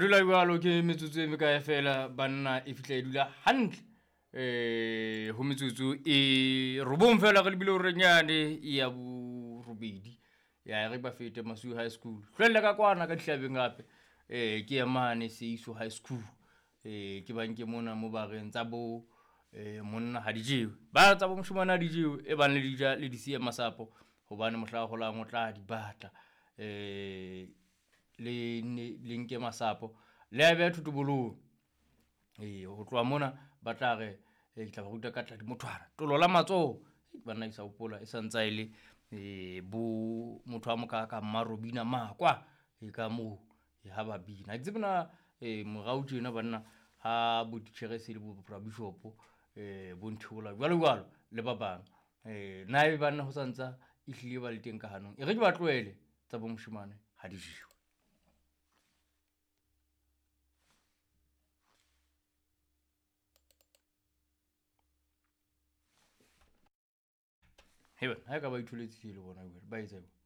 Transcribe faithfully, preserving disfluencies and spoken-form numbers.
Dula jwalo ke metsotso e mekae fela banna e fihla e dula hantle. Eh ho metsotso e robong fela re lebile hore nyane ya borobedi. Ya re ba fete Masiu High School. Hlwelle ka kwana ka dihlabeng hape. Eh ke ya mane Seiso High School. Eh ke bang ke mona mo ba reng tsa bo eh monna ha di jewe. Ba tsa bo moshemane ha di jewe e bang le di ja le di siya masapo hobane mohla holang o tla di batla. Eh le ne le nke masapo le a beha thotobolong. Ee, ho tloha mona ba tla re ke tla ba ruta ka tladi mothwana. Tolo la matsoho banna ke sa hopola e santsa e le eh bo motho a mokaka Mmarobina Makwa e ka moo ha ba bina. Ha ke tsebe na eh morao tjena banna ha bo titjhere se le bo bishop eh bo Ntheola jwalo jwalo le ba bang. Eh na ebe banna ho santsa ehlile ba le teng ka hanong. E re ke ba tlohele tsa bo moshemane ha di jewe. He bana, ha e ka ba itholetse le bona jwale, ba etsa jwang?